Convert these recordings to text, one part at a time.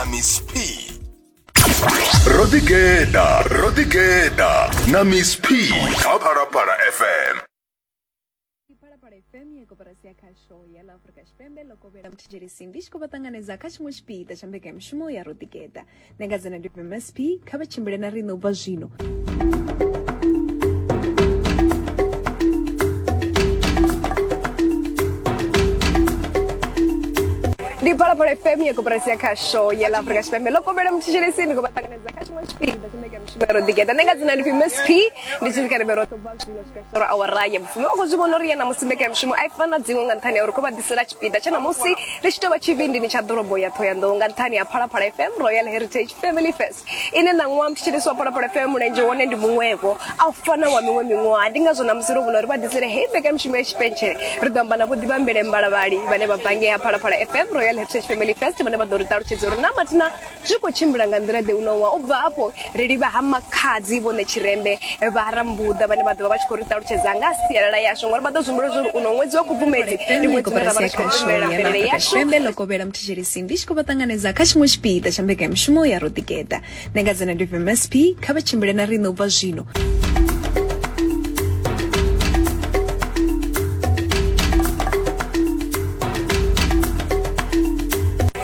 Na Miss P. Ro ḓigeḓa, ro ḓigeḓa na Miss P kha Phalaphala FM. Phalaphala FM ya koporasi ya khasho ya ḽa Afrika Tshipembe ḽo kovhela muthetshelesi ndi tshi khou vha ṱanganedza kha tshiṅwe tshipiḓa tsha mbekanyamushumo ya ro ḓigeḓa. Nṋe nga dzina ndi MSP, kha vha tshimbile na riṋe u bva zwino. Ndi Phalaphala FM ya koporasi ya khasho ya ḽa Afrika Tshipembe ḽo kovhela muthetshelesi ndi khou vha ṱanganedza kha tshiṅwe tshipiḓa tsha mbekanyamushumo ya ro ḓigeḓa. Nṋe nga dzina ndi pfi MSP, ndi tshi kha ri roṱhe u bva zwino swika tshitoro awara ya vhufumi. U khou zwi vhona uri ya ṋamusi mbekanyamushumo a i fani na dziṅwe nga nṱhani ha uri khou vha ḓisela tshipiḓa tsha ṋamusi ri tshi tou vha tshivhindini tsha ḓorobo ya Ṱhohoyanḓou nga nṱhani ha Phalaphala FM Royal Heritage Family Fest ine ṋaṅwaha muthetshelesi wa Phalaphala FM mulenzhe wone ndi muṅwevho a u fana wa miṅwe miṅwaha. Ndi ngazwo ṋamusi ro vhona uri vha ḓisele heyi mbekanyamushumo ya tshipentshele. Ri ḓo amba na Vho Ḓivhambele Mbalavhali vhane vha bva ngei ha Phalaphala FM Royal Heritage Family Fest vhane vha ḓo ri ṱalutshedza uri na mathina zwi khou tshimbila nga nḓila ḓe uno ṅwaha. U bva hafho ri livha ha Makhadzi Vho Ṋetshirembe vha ha Rambuḓa vhane vha ḓo vha vha tshi khou ri ṱalutshedza nga ha sialala yashu ngori vha ḓo zwi humbula zwa uri uno ṅwedzi wa Khubvumedzi ndi ṅwedzi une ra vha ri tshi khou pembelela mvelele yashu. Tshipembe ḽo kovhela muthetshelesi ndi tshi khou vha ṱanganedza kha tshiṅwe tshipiḓa tsha mbekanyamushumo ya Ro Ḓigeḓa. Nṋe nga dzina ndi MSP, kha vha tshimbile na riṋe u bva zwino.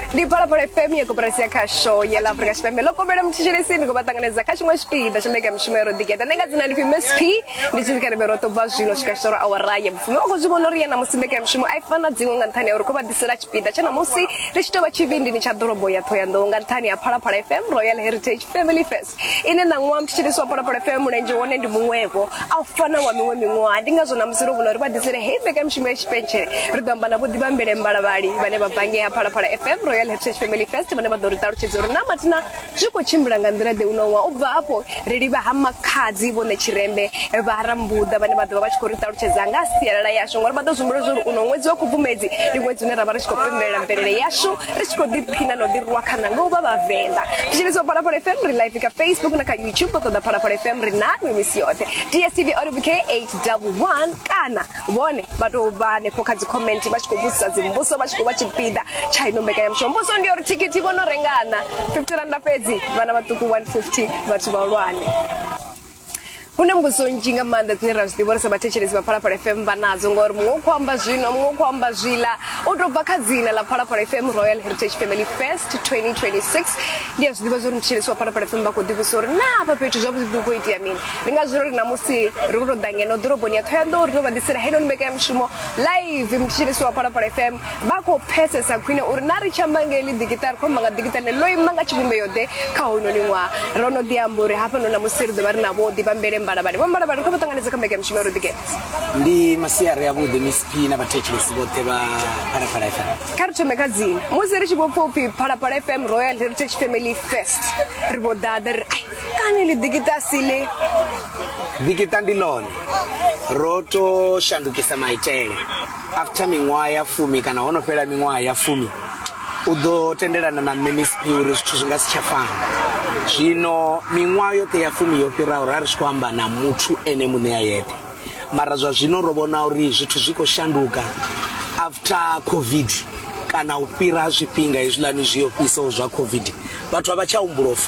Ndi Phalaphala FM ya koporasi ya khasho ya ḽa Afrika Tshipembe ḽo kovhela muthetshelesi ndi khou vha ṱanganedza kha tshiṅwe tshipiḓa tsha mbekanyamushumo ya ro ḓigeḓa. Nṋe nga dzina ndi pfi Miss P, ndi tshi kha ri roṱhe u bva zwino swika tshitoro awara ya vhufumi. U khou zwi vhona uri ya ṋamusi mbekanyamushumo a i fani na dziṅwe nga nṱhani ha uri khou vha ḓisela tshipiḓa tsha ṋamusi ri tshi tou vha tshivhindini tsha ḓorobo ya Ṱhohoyanḓou nga nṱhani ha Phalaphala FM Royal Heritage Family Fest ine ṋaṅwaha muthetshelesi wa Phalaphala FM mulenzhe wone ndi muṅwevho a u fana wa miṅwe miṅwaha. Ndi ngazwo ṋamusi ro vhona uri vha ḓisele heyi mbekanyamushumo ya tshipentshele. Ri ḓo amba na Vho Ḓivhambele Mbalavhali vhane vha bva ngei ha Phalaphala FM Royal Heritage Family Fest vhane vha ḓo ri ṱalutshedza uri na mathina zwi khou tshimbila nga nḓila ḓe uno ṅwaha. U bva hafho ri livha ha Makhadzi Vho Ṋetshirembe vha ha Rambuḓa vhane vha ḓo vha vha tshi khou ri ṱalutshedza nga ha sialala yashu ngori vha ḓo zwi humbula zwa uri uno ṅwedzi wa Khubvumedzi ndi ṅwedzi une ra vha ri tshi khou pembelela mvelele yashu ri tshi khou ḓiphina na u ḓirwa khana nga u vha Vhavenḓa. Thetshelesa Phalaphala FM ri live kha Facebook na kha YouTube vha ṱoḓa Phalaphala FM ri na nwi misi yoṱhe. DSTV audio bouquet 811 kana vhone vha tou vha hanefho kha dzi comment vha tshi khou vhudzisa dzimbudziso vha tshi khou vha tshipiḓa tsha ino mbekanyamushumo. Mbudziso ndi ya uri thikhithi vho no rengana 50 randa fhedzi vhana vhaṱuku 150 vhathu vhahulwane. Hu na mbudziso nnzhi nga maanḓa dzine ra zwi ḓivha uri sa vhathetshelesi vha Phalaphala FM vha nadzo ngori muṅwe u khou amba zwino muṅwe u khou amba zwiḽa u tou bva kha dzina ḽa Phalaphala FM Royal Heritage Family Fest 2026 ndi a zwi ḓivha zwa uri muthetshelesi wa Phalaphala FM vha khou ḓivhudzisa uri na hafha fhethu zwavhuḓi hu khou itea mini ndi ngazwo ri ṋamusi ri khou tou ḓa ngeno ḓoroboni ya Ṱhohoyanḓou ri tou vha ḓisela heinoni mbekanyamushumo live muthetshelesi wa Phalaphala FM Vha khou pfesesa khwine uri na ri tshi amba nga heḽi ḓikiṱa ri khou amba nga ḓikiṱa ḽine ḽo ima nga tshivhumbeo ḓe kha hounoni ṅwaha. Ro no ḓi amba uri hafhanoni ṋamusi ri ḓo vha ri na Vho Ḓivhambele Mbalavhali. Vho Mbalavhali, ri khou vha ṱanganedza kha mbekanyamushumo ya Roḓigeḓa. Ndi masiari avhuḓi Miss P na vhathetshelesi vhoṱhe vha Phalaphala FM. Kha ri thome kha dzina. Musi ri tshi vho pfa upfi Phalaphala FM Royal Heritage Family Fest, ri vho ḓaḓa ri ri ai kani ḽi ḓikiṱa a si ḽi. Ḓikiṱa ndi ḽone. Ro to shandukisa maitele. After miṅwaha ya fumi kana ho no fhela miṅwaha ya fumi u ḓo tendelana na nṋe Miss P uri zwithu zwi nga si tsha fana. Zwino miṅwaha yoṱhe ya fumi yo fhiraho ra ri tshi khou amba na muthu ene muṋe a yeṱhe mara zwa zwino ro vhona uri zwithu zwi khou shanduka after COVID kana u fhira ha zwifhinga hezwiḽani zwi ofhisaho zwa COVID vhathu a vha tsha humbula u fana.